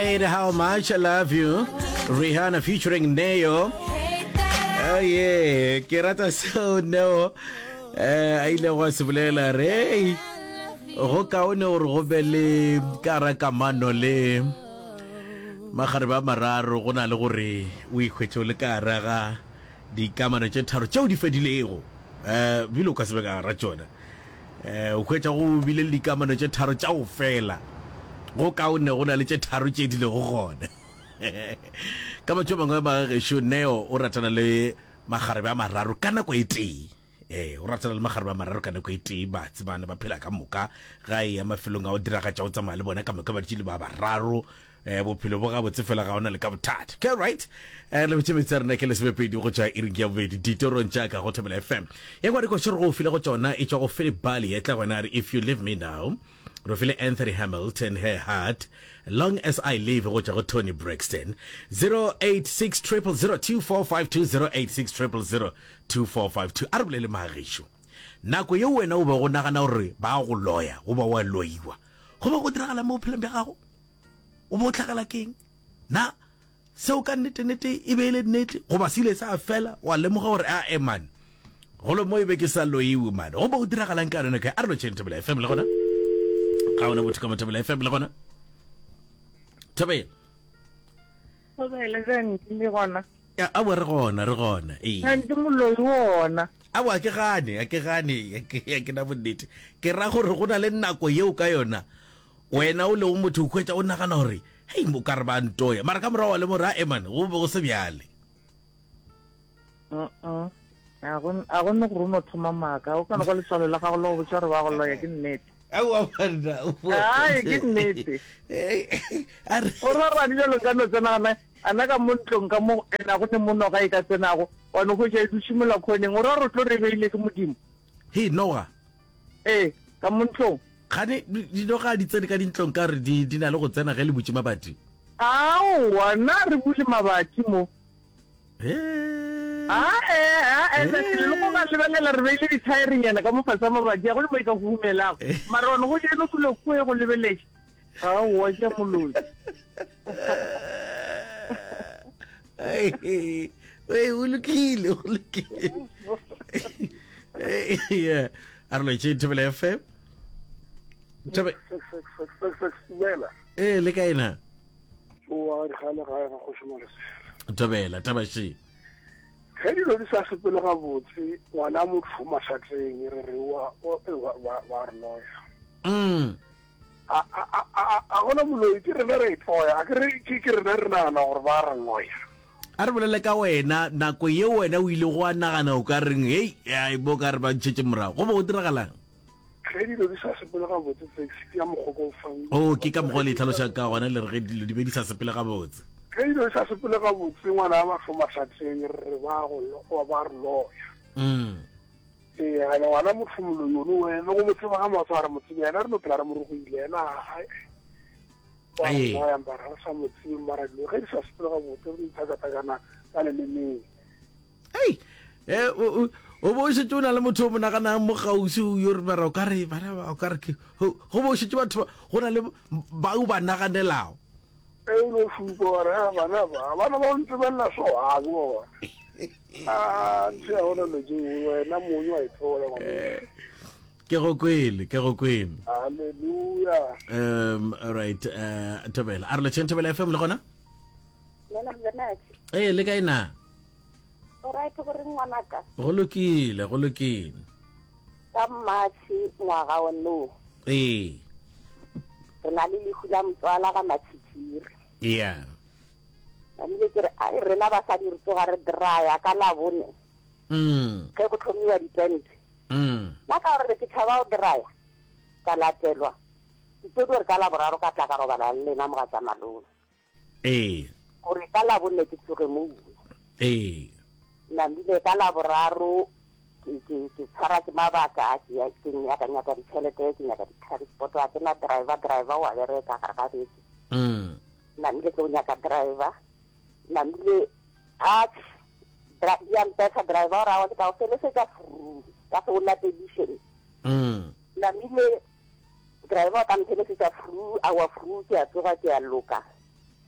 Right, how much I love you. Rihanna featuring Neo. Oh yeah, ke rata seo Neo. Eh, a ile go se bolela re go kaone gore go be le ka ra kamano le magare ba mararo go na le gore o ikhwetše o le ka ra ga dikamano tše tharo tšeo di fedilego eh bile o ka se be ka ra tšona Eh, o hwetša go bile le dikamano tše tharo tša go fela. Go kaone go na le tše tharo tše di lego gona. Ka mantšu a mangwe magagešo, Neo o ratana le makgarebe a mararo ka nako e tee. Ee, o ratana le makgarebe a mararo ka nako e tee, ba tsebana, ba phela ka moka. Ga e ya mafelong a go diragatša, o tsamaya le bona ka moka ba dutše le ba bararo. Eh, bophelo bo gabotse fela ga ona le ka bothata. Okay, right. Eh, le botše metsi a rena ke lesomepedi go tšwa iring ya bobedi ditorong tša ka go Thobela FM. Ya kwa dikoši re go file go tšona e tšwa go Philip Bali e tla gona a re if you leave me now. Re file Anthony Hamilton her heart long as I live go tšwa go Toni Braxton. 086 000 2452 086 000 2452. A re bolele magešo. Nako yeo wena o bego o nagana gore ba go loya goba wa loiwa goba go diragala mo bophelong bja gago? O be o hlagela keng? Na seo ka nnete-nnete e be e le nnete goba se ile sa fela wa lemoga gore a e man golo mo e be ke sa loiwe man go be go diragalang ka yone kae a re lotšheng Thobela FM le gona ga ona motho ka mo Thobela FM le gona Thobela Thobela jang le gona Ya, aowa re gona re gona ee Kante moloi wona aowa ke gane a ke gane a ke na bonnete ke ra gore go na le nako yeo ka yona Wena o lego motho o hwetša o nagana gore, Hei, o ka re ba ntoya. Mara ka morago wa lemoga gore, Ae man, go be go se bjale. Uh-uh. A go a go ne gore o no thoma maaka. O ka no kwa letswalo la gago le go botša gore ba go loya ke nnete. Aowa banna. Ai, ke nnete. A re. O ra rane bjalo ka no tsena gana ana ka mo ntlong ka mo ena go ne mo noga e ka tsenago wa no hwetša e dutše mola khoneng o ra gore o tlo re beile ke Modimo. Hei, noga. Ee, ka mo ntlong. Kgane dinoga di tsene ka dintlong ka gore di, di na le go tsena ge le butše mabati? Aowa, na re bule mabati mo. Hee. Ae, ae, le le go ga lebelela re beile dithaerenyana ka mo fase ga mabati, a go le mo e ka huhumelago. Mara one go jeno dule kue go lebeletše. Aowa, ke ya moloi. Ee, o lokile, o lokile. Yeah. A re lwetše Thobela FM. Thobe. Ee, le kae na? Oa dikgale gae ga kgoši Malesela. Thobela, taba še. Ge dilo di sa sepele gabotse, ngwana motho mašatleng re re wa wa re loya. Mm. A a a a gona moloi ke rena re itloya, a ke re ke rena re nagana gore ba re loya. A re bolele ka wena, nako ye wena o ilego wa nagana o ka reng, hei, ai, bo ka re ba ntšhetše morago. Go be go diragalang? Ge dilo di sa sepele gabotse, Fix, ke ya mokgwa ko fang. Oh, ke ka mokgwa o le itlhalošang ka gona, le re ge dilo di be di sa sepele gabotse. Ge dilo di sa sepele gabotse, ngwana wa mahlo mahlatseng, re re ba go, ba re loya. Mm. Ee, ene ngwana motho moloi one, wena go mo tseba ga matswa a re mo tsebe, yena re no phela re mo rogile, yena a. Ee. Wa mara re sa mo tsebe mara dilo ge di sa sepele gabotse re ithakatakana ka lelemeng. Ei, eh, o o bo o šetše o na le motho o mo naganang mo kgauswi yo re mara o ka re bana ba o ka re ke go bo o šetše batho go na le ba o ba naganelago. E o no šupa wa re a bana ba bana ba ntebelela so a ke bona. A ntse ya gona lo tšeo wena mong wa ithola ngwana. Eh. Ke go kwele, ke go kwele. Hallelujah. Um, all right, uh, Thobela. A re lotšheng Thobela FM le gona? Lena Bernard. Ee, le kae na? O right gore ngwanaka? Go lokile, go lokile. Ka March ngwaga o no. Ee. Re na le lehu la motswala ga Matshitshiri. Yeah. Namile ke re ai rena basadi re tsoga re draya ka labone. Mm. Ge go tlhomiwa ditente. Mm. Nna ka gore ke tšhaba go draya, ka latelwa. Ke tlo gore ka Laboraro ka tla ka robala le lena mogatša malome. Ee. Gore ka Labone ke tsoge mo uwe. Ee. Namile ka Laboraro ke ke ke tshwara ke mabaka ke ya ke nyaka nyaka ditšhelete ke nyaka di-transport a ke na driver driver wa bereka gare ga beke. Mm. Namile ke o nyaka driver. Namile a Dra ya mpetha driver o ra wa ke tla go felesetša furu ka se o latediše. Mm. Namile driver o tla mphelesetša furu awa furu ke a tsoga ke a loka.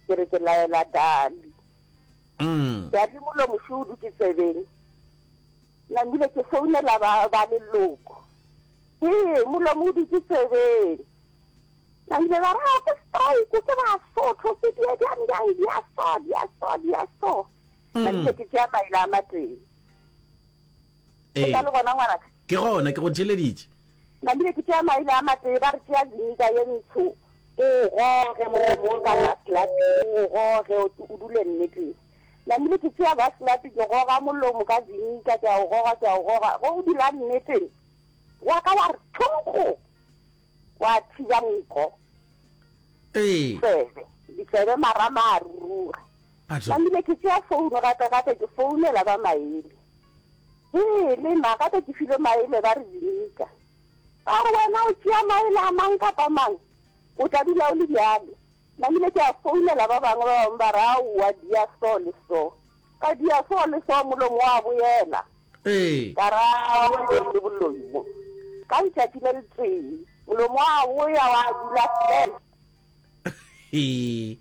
Ke re ke laela Dali. Mm. Dali molomo šo o dutše tsebeng. Namile ke founela ba, ba leloko. Ee, molomo o dutše tsebeng. Namile ba re, "Ah, ke stroke, ke Basotho, ke die bjang bjang, di a so, di a so, di a so. Namile ke tšea maele a matee. Ee. O sa le gona ngwanaka? Ke gona, ke go theeleditše. Namile ke tšea maele a matee, ba re tšea vinika ye ntsho, o o goge molomo wo ka vaslapi, o o goge o dule nneteng. Namile ke tšea vaslapi, ke goga molomo ka vinika, ke a o goga, ke a o goga, ge o dula nneteng, wa ka wa re thonkgo, wa thiba nko. Ee. Tsebe, ditsebe marama a ruruga. Batho. Namile ke tšea founu gape gape ke founela ba maele. Hee, le nna gape ke filwe maele ba re vinika. Ba re wena o tšea maele a mang kapa mang, o tla dula o le bjalo. Namile ke a founela ba bangwe, ba bangwe ba re aowa dia so le so. Ka dia so le so molomo wa boela. Ee. Ka re aowa le boloi mo. Ka letšatši le letee molomo wa boya wa dula fela. Hee.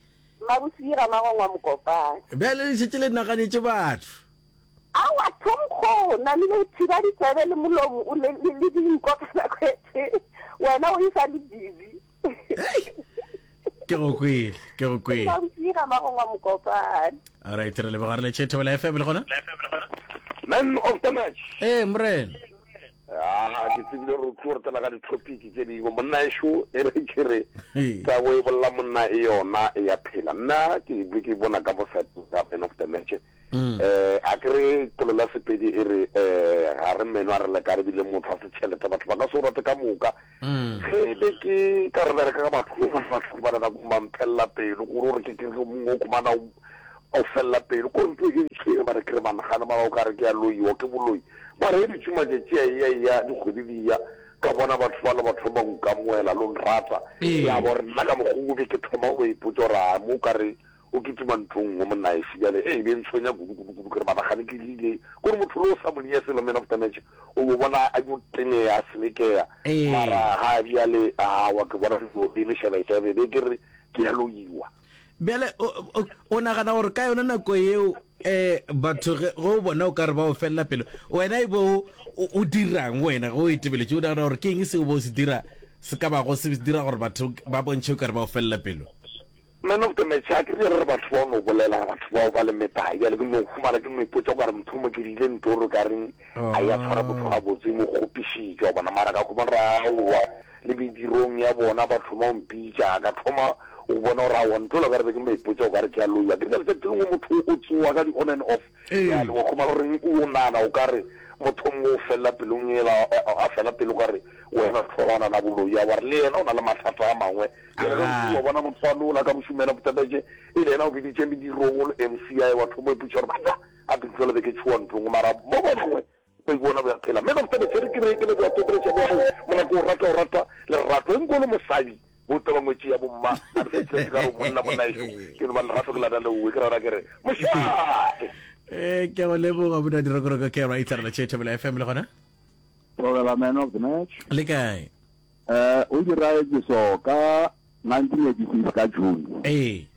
Mabosira Magongwa Mokopane. Bjale le šetše le naganetše batho. Aowa Thonkgo, namile o thiba ditsebe le molomo o le, le, le dinko ka nako e tee. Wena o e sa le busy. Ke go kwele, ke go kwele. Mabosira Magongwa Mokopane. Alright, re leboga re le tšhe Thobela FM le gona? Man of the match. Ee, morena. Ah, ke tsebile gore o tlo re tsena ka di-topic tse dingwe. Monna ešo e re ke re tabo e bolla monna e yona e ya phela. Nna ke be ke bona ka mo side ga man of the match. Eh a ke re polelo ya Sepedi e re eh ga re meno a re lekane ebile motho a se tšhelete batho ba ka se o rate ka moka. Ge e be ke ka re bereka ka batho batho ba nako ba mphelela pelo gore gore ke ke mongwe o khumana o felela pelo ko ntlo e ntšhwere ba re ke re banagana mara o ka re ke ya loiwa ke boloi mara e ditše matšatši a eya eya dikgwedi di ya ka bona batho ba le batho ba nkamoela lo nrata ya bo re nna ka mokgwa be ke thoma go ipotsa gore a mo ka re o kitima ntlong nngwe monna ešo bjale e be ntshwenya kudu kudu kudu ke re managane ke rile kore motho le o sa mo neye selo man of the match o bo bona a yo tenea a selekea mara ga bjale awa ke bona dilo di le šebešebe be ke re ke ya loiwa. Bjale o nagana gore ka yona nako yeo um batho ge o bona o ka re ba o felela pelo wena e bo o dirang wena ge o itebeletše o nagana gore ke eng seo bo se dira se ka bago se dira gore batho ba bontšhe o ka re ba o felela pelo? Man of the match, a ke re re batho bao no bolela, batho bao ba le metlae. Bjale ke no humana ke no ipotša o ka re motho mo ke diile ntoro ka reng a ya tshwara motho gabotse mo kgopišitše wa bona. Mara ka humana gore aowa le medirong ya bona ba thoma go mpitša, ka thoma go bona gore aowa ntho la ka re be ke no ipotša o ka re ke a loiwa. Ke re letšatši lengwe motho o tsoa ka di on and off, bjale wa humana gore o nagana o ka re motho mongwe o felela pelong yela a fela pelo o ka re wena hlogwana la boloi, a wa re le yena o na le mathata a mangwe. Bjale ge o wa bona motho wa nola ka mošomela botebetše e le yena o biditše medirong o le MC a wa thoma ipotša gore banna a ke tlogele be ke tšhoa ntlong mara mo ba bangwe ba ipona ba phela man of the match ke re ke leboga topeletša bja gago mona ke o rata o rata lerato e nko le mosadi bo taba ngwetši ya bomma a re fitlhetse ka re monna monna ešo ke no ba lerato ke lata leowe ke rata ke re mošate. Eh, ke go leboga monna dirokoroko ke right re la tšhe FM le gona Thobela man of the match. Le kae? Eh, o diraetše so ka 1986 ka June. Ee.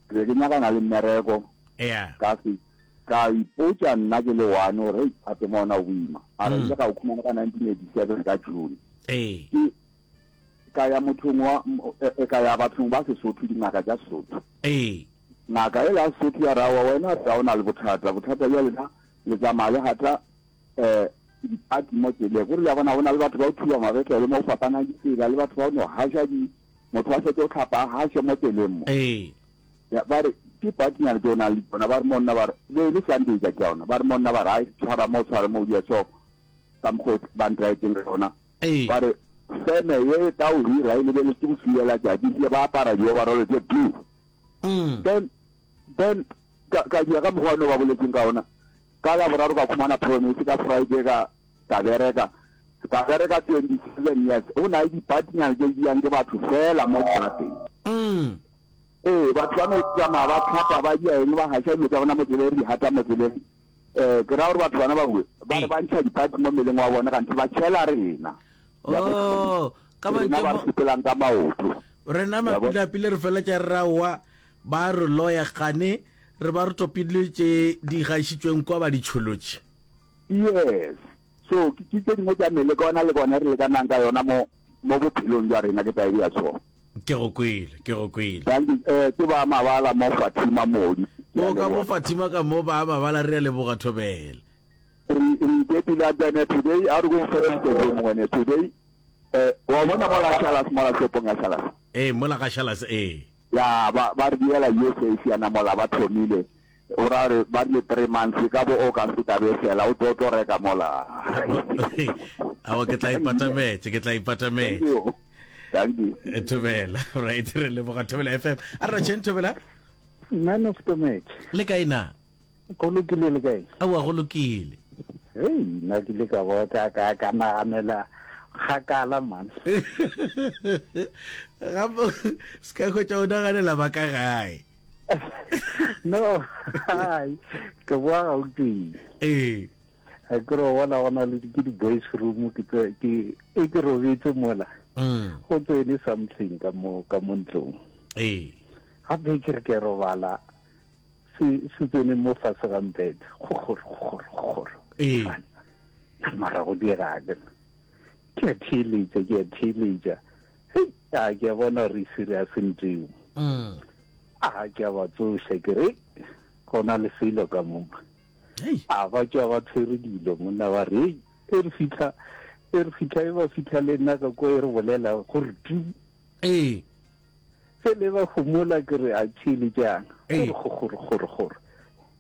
Ke be ke nyakana le mmereko. Yeah. Ka se ka ipotša nna ke le one gore hei gape mo ona o boima. A re ile ka o khumana ka 1987 ka June. Ee. Ke ka ya mothong wa e ka ya bathong ba Sesotho dingaka tša Sesotho. Ee. Ngaka e ya Sesotho ya ra wa wena ga o na le bothata, bothata bja lena le tsamaya le gata um dipati mo tseleng gore le a bona go na le batho ba go thuba mabetlele mo go fapanang ditsela le batho ba go no gaša di motho a fetše go hlapa a gaše mo tseleng mo ee ya ba re ke patinyana tse o nang le tsona ba re monna ba re be e le sunday tšatši la ona ba re monna ba re ai tshwara mo tshwara mo dia so ka mokgwa ba ntraetseng ka yona ee ba re feme ye e tla o hira e lebeletse go fiela tšatši ebile ba apara di-overall tse blue mm. then then ka ka dia ka mokgwa one ba boletseng ka ona Ka Laboraro ka khumana promise, ka Friday ka ka bereka. Ka bereka 27 years. Go na le dipatinyana tše di yang ke batho fela mo strateng. Mm. Ee, batho ba no tsamaya ba tlhapa ba dia eng ba gaša dilo tsa bona mo tseleng re di gata mo tseleng. Um ke ra gore batho bana ba bue ba re ba ntšha dipati mo mmeleng wa bona kanthe ba tšhela rena. Oh, ka Rena ba re sepelang ka maoto. Rena mapilapile re feletša re ra wa. Ba re loya kgane re ba re topile tše di gašitšweng kwa ba di tšholotše. Yes. So ke ke tše dingwe tša meleko yona le bona re lekanang ka yona mo mo bophelong bja rena ke tla e bea so. Ke go kwele, ke go kwele. Thank you. Eh, ke ba mabala mo Fatima Modi. Ke a O ka mo leboga. Fatima ka mo ba mabala re a leboga Thobela. Re re ikepile a tsene today a re go fe interview mongwe today. Eh, wa bona mola Shalas mola shopong ya Shalas. Ee, mola ga Shalas ee. Ya ba ba re diela yo safe ya namola ba thomile o ra re ba rile 3 months ka bo August tla be fela o tlo tlo reka mola. Awa ke tla ipatametse ke tla ipatametse. Thank you. Eh, Thobela right re leboga Thobela FM. A re tšheng Thobela. Man of the match. Le kae na? Go lokile le kae? Aowa go lokile. Hei, nna ke ile ka bo ka ka ka naganela kgakala man. Gape se ka hwetša o naganela ba ka gae. No, hai, ke boa Gauteng. Ee. A ke re bona go na le ke di-boys room ke ke e ke robetse mola. Mm. Go tsene something ka mo ka mo ntlong. Ee. Gape ke re ke robala se se tsene mo fase ga mpete gogoro gogoro gogoro ee mara go dira ke ke a theeletša ke a theeletša hei a ke a bona gore e serious nteo mm. a ke a ba tsoša ke re go na le selo ka mo a ba tšwa ba tshwere dilo monna ba re e re fitlha e re fitlha e ba fitlha le nna ka ko e re bolela gore tu ee Ge le ba homola ke re a tšhele jang. Gore gore gore gore.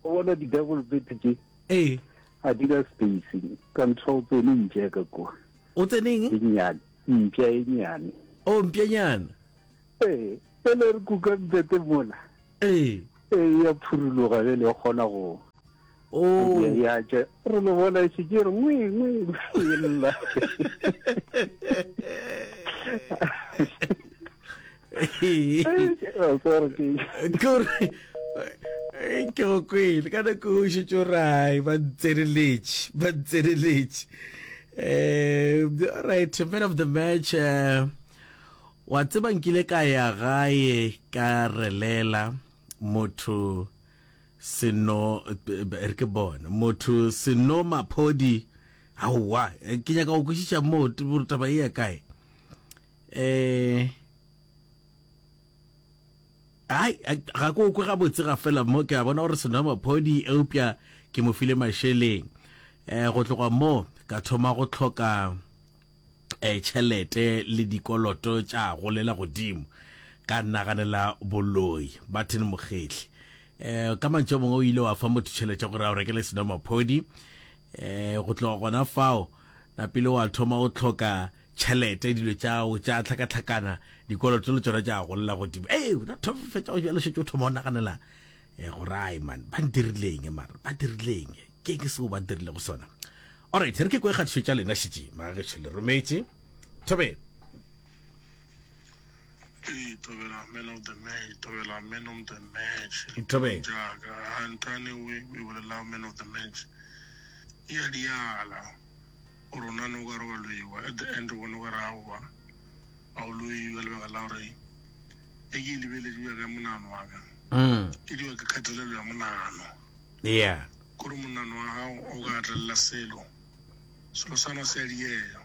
O bona di double bed tše. Ee. A di na space. Ka ntho o tsene mpša ka kwa. O tseneng? E nnyane. Mpša e nnyane. O mpšanyana. Ee. Pele re kuka mpete mola. Ee. Ee ya phuruloga bjale e kgona go. Oh. Ya tša re lo bona e šetše re ngwe ngwe e lla. Kore ke go kwele ka nako o šetše o rai ba ntseneletše ba ntseneletše um right man of the match uh, wa tseba nkile ka ya gae ka relela motho Seno, re ke bone. Motho Seno Maphodi, aowa, ke nyaka go kwešiša moo gore taba e ya kae. Eh, ai ga ko kwe gabotse ga fela mo ke a bona gore Seno Maphodi eupša ke mo file mašeleng. Eh, go tloga mo ka thoma go tlhoka eh, tšhelete le dikoloto tša golela godimo ka naganela boloi Martin Mokgehli eh ka mantšu a mongwe o ile wa fa motho tšhelete gore a o rekele senomaphodi eh go tloga gona fao napile wa thoma o tlhoka tšhelete dilo tšao tša tlhakatlhakana dikoloto le tšona tša golela godimo ee fetša go bjalo šetše o thoma o naganela eh gore ai man ba ntirileng mara ba dirileng ke ke seo ba ntirilego sona alright re ke kwe kgatišo tša lena šetše magagešo le rometše thobela Ee, Thobela man of the match, Thobela man of the match. Thobela. Jaaka Hantane o e bolela man of the match. E a diala. Gore o nane o ka re wa loiwa. At the end o bone o ka re aowa. A o loiwa lebaka la gore e ke e lebeletše bja ka monagano wa ka. Mm. E diwa ke kgatelelo ya monagano. Yeah. Kore monagano wa gago o ka gatelela selo. Selo sana se a diega.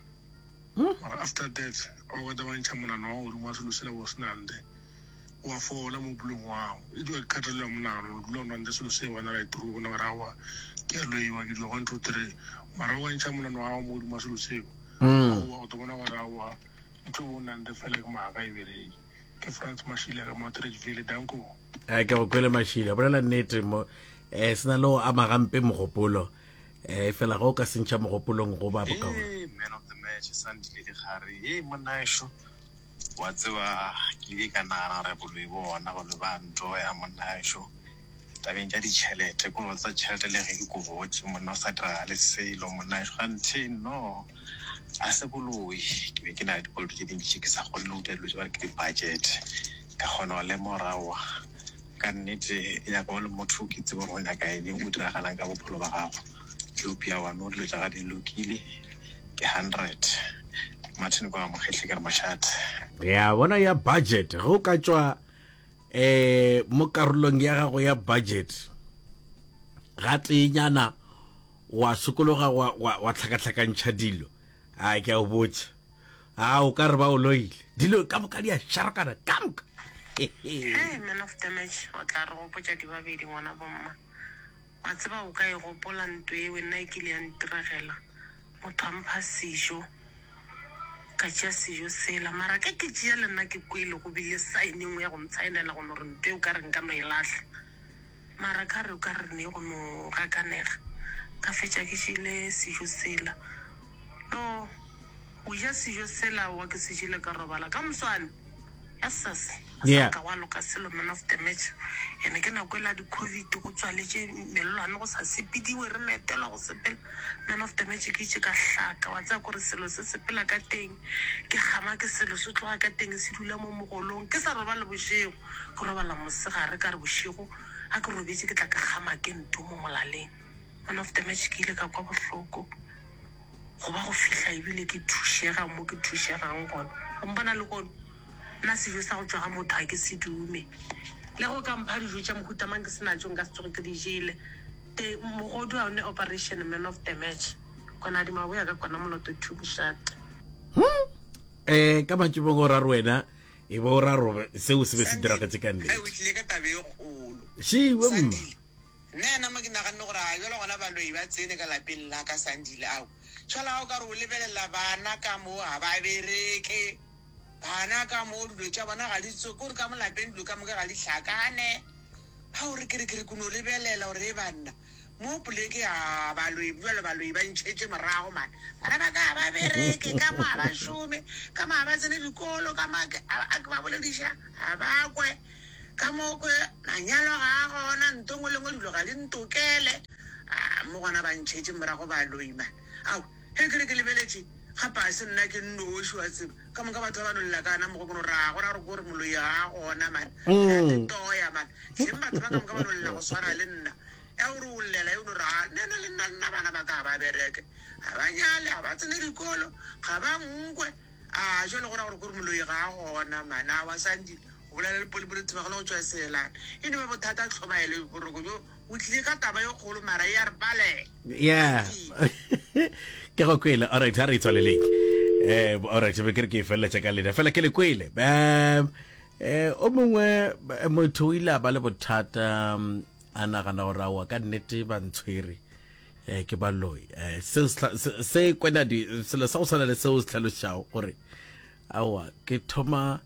Mara after that a o ka ba ntšha monagano wa godimo wa selo sela bo se nante wa fola mo bophelong wa gago. E diwa ke kgatelelo ya monagano o dula o nante selo se wena right through o bona gore aowa ke a loiwa ke dira 1 2 3 mara o ka ntšha monagano wa gago mo godimo wa selo seo aowa o tlo bona gore aowa ntho bo nante fela ke maaka e bereke. Ke Frans Mashile ka mo Atteridgeville danko. A ke go kwele Mashile bolela nnete mo eh se na le go ama gampe mogopolo eh fela ga o ka sentšha mogopolong go ba bokaone. Hey, man of the match Sandile Dikgare hey monnaešo wa tseba ke ile ka nagana gore boloi bo gona boloi ba ntoya monnaešo tabeng tša ditšhelete ko tsa tšhelete le ge ke kobotše monna o sa diragale selo monnaešo ganthe no a se boloi ke be ke na le dikoloto tše dintši ke sa kgone le go dira dilo tše ba re ke di-budget ka kgona go lemoga aowa Ka nnete, e nyaka o le motho ke tsebe gore o nyaka eng, o diragalang ka bophelo ba gago. Eupša wa no dilo tša ga di lokile, ke hundred. Martin kwa Mokgehle ke re mošate. Ya bona ya budget ge o ka tšwa. um mo karolong ya gago ya budget ga teenyana wa sokologa wa, wa, wa tlhakatlhakantšha dilo a ke a o botša a o ka re ba o loile dilo ka moka di a šarakana ka moka Hey, man of the match, o tla re gopotša dibabedi ngwana bomma. Wa tseba o ka e gopola nto eo nna e kile ya ntiregela. Motho a mpha sejo, ka tšea sejo sela. Mara ge ke tšea le nna ke kwele go bile sign e nngwe ya go ntshaenela go no re nto eo ka re nka no e lahla. Mara ka re o ka re ne go no gakanega. Ka fetša ke jele sejo sela. No, go ja sejo sela aowa ke se jele ka robala. Ka moswane, ya sas, ga sa Yeah. ka gwa loka selo man of the match. Ene ke nako ela di-covid go tswaletše mellwane go sa sepediwe re metelwa go sepela. Man of the match ke itše ka hlaka wa tseba kore selo se sepela ka teng. Ke kgama ke selo se tloga ka teng se dula mo mogolong. Ke sa robale bošego. Ke robala mosegare ka re bošego ga ke robetše ke tla ke kgama ke nto mo molaleng. Man of the match ke ile ka kwa bohloko go ba go fihla ebile ke thušega mo ke thušegang gona. O mpona lehono nna sejo sa go tšwa ga motho ga ke se dume. Le ge o ka mpha dijo tša mohuta mang ke se natšo nka se tsoge ke di jele. Te mogodu a one operation man of the match. Kona di maboya ka kona moloto two bošate. Hmm. Eh ka matšibong o ra re wena e be o ra robe seo se be se diragetše ka nnete. O tlile ka taba e kgolo. Šiwe mma. Nna yena mo ke naganne gore a jalo gona baloi ba tsene ka lapeng la ka Sandile ao. Jalo ga o ka re o lebelela bana ka mo ga ba bereke. Bana ka mo dilo tša bona ga di tso kore ka mo lapeng dilo ka moka ga di hlakane. Ga o re ke re ke re ke no lebelela gore e banna Mo poleke a baloi bjalo baloi ba ntšhetše morago man. Bana ba ka ga ba bereke, ka mo ga ba šome, ka mo ga ba tsene dikolo, ka mo a ke ba bolediša ga ba kwe, ka mo kwe manyalo ga a gona, nto ngwe le ngwe dilo ga di ntokele. A mo gona ba ntšhetše morago baloi man. Ao, ge ke re ke lebeletše gape ga se nna ke nnoši wa tseba, ka moka batho ba ba no lla ka na mo go ke no ra go ra gore ke gore moloi ga a gona man. Re a tetoya man. Hleng batho ba ka moka ba no lla go swana le nna. Ya gore o llela yo no re, A nna le nna, nna bana ba ka ga ba bereke, ga ba nyale, ga ba tsene dikolo, ga ba nkwe. A jwale go ra gore kore moloi ga a gona man. Aowa Sandile, o bolela le Polipoli Thibagolo go tšwa Seelane. E no ba bothata tlhobaelo, boroko bjo o tlile ka taba e kgolo mara e a re palela. Yeah. Ke go kwele. Alright, ha re itswaleleng. Eh, alright, be ke re ke e feleletša ka lena. Fela ke le kwele. Um, eh, o mongwe eh, motho o ile a ba le bothata um, a nagana gore aowa ka nnete ba ntshwere um ke baloi um seo se kwenadi selo sa go tshwana le seo se tlhalošago gore aowa ke thoma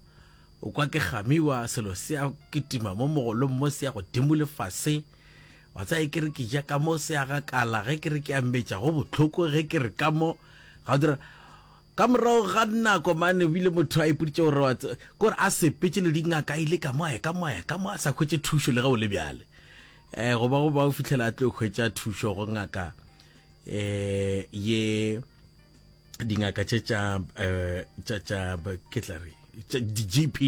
o kwa ke gamiwa selo se ya kitima mo mogolong mo se ya godimo le fase wa tsaya ke re ke ja ka mo se ya gakala ge ke re ke ambetša go bohloko ge ke re ka mo ga o dira Ka morago ga nako mane o bile motho a ipoditše gore wa tse, kore a sepetše le dingaka a ile ka mo a ya ka mo a ya ka mo a sa hwetše thušo le ge o le bjale. Eh go ba go ba o fihlela a tlo hwetša thušo go ngaka eh ye dingaka tše tša eh tša tša ke tla re tša di GP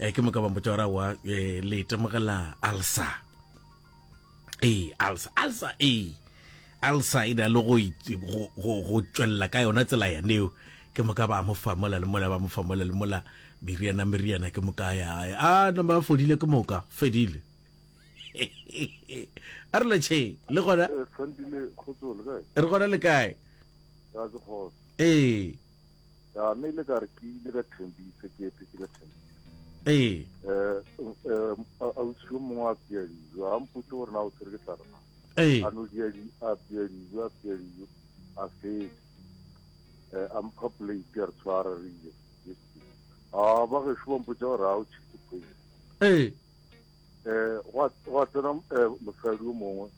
eh ke moka ba mpotša gore wa eh, le itemogela ulcer. Ee, ulcer, ulcer, ee. Ulcer e na le go, go, go, go tšwelela ka yona tsela yaneo. Ke moka ba mo fa mola le mola, ba mo fa mola le mola, meriana, meriana, ke moka ya gae. A, nama ba fodile ke moka, fedile. A re lotšheng, le gona? Eh, Sandile, kgotso, le kae? Re gona le kae? Ya, ke kgotso. Ee. Ya, nna ile ka re ke ile ka Thembisa, ke etetse ka Thembisa. Ee. Eh, eh, ausi yo mongwe a apea dijo, a mpotse gore na o tshwere ke tlala na. Ee. A no dia di, a apea dijo, a apea dijo, a fetsa. Eh, a mpha plate a re tshwara re je. A ba gešo ba mpotsa gore a o tšhetse poison. Ee. Eh, gwa gwa tsena eh, mosadi yo mongwe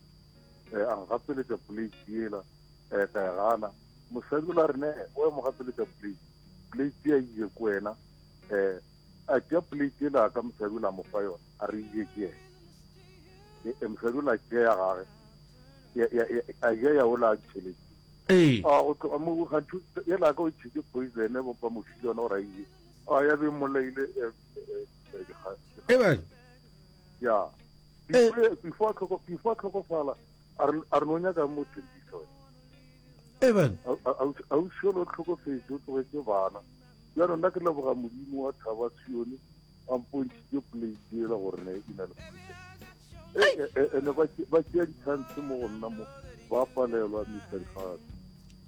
eh, a ngapeletša plate yela eh, ka e gana. Mosadi o la re ne o mo gapeletša plate. Plate ya ile ko wena. Eh, a tšea plate yela ka mosadi o la mo fa yona, a re ije ke yena. E, e, mosadi o la tšea ya gage, ya, ya, ya, a ja ya ola a tšhelete. Ee. A go tloga mo gantši yela ka o tšhetse poison ba ba mo file yona gore a ije. A ya be mmolaile eh, eh, eh, dikga- E bang? ya. Eh. Before before a tlhoko- before a tlhokofala a re a re no nyaka mo thembisa wena. E bang? Ausi yola o tlhokofetse o tlogetse bana. Bjalo nna ke leboga Modimo wa thaba Sione a mpontšhitše plate. Ene ba tšea di-chance mo go nna mo ba palelwa Mister Dikgato.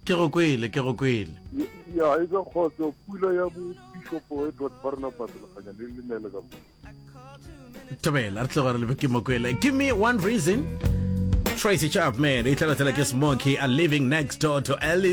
Ke go kwele, ke go kwele. Ya, e ka kgotso pula ya bo Bishop Edward Barnabas Lekganya le le nele ka mo. Thobela, re tloga re lebe ke mo kwele. Give me one reason. Tracy Chapman, e tla latela ke Smokey, a living next door to Alice.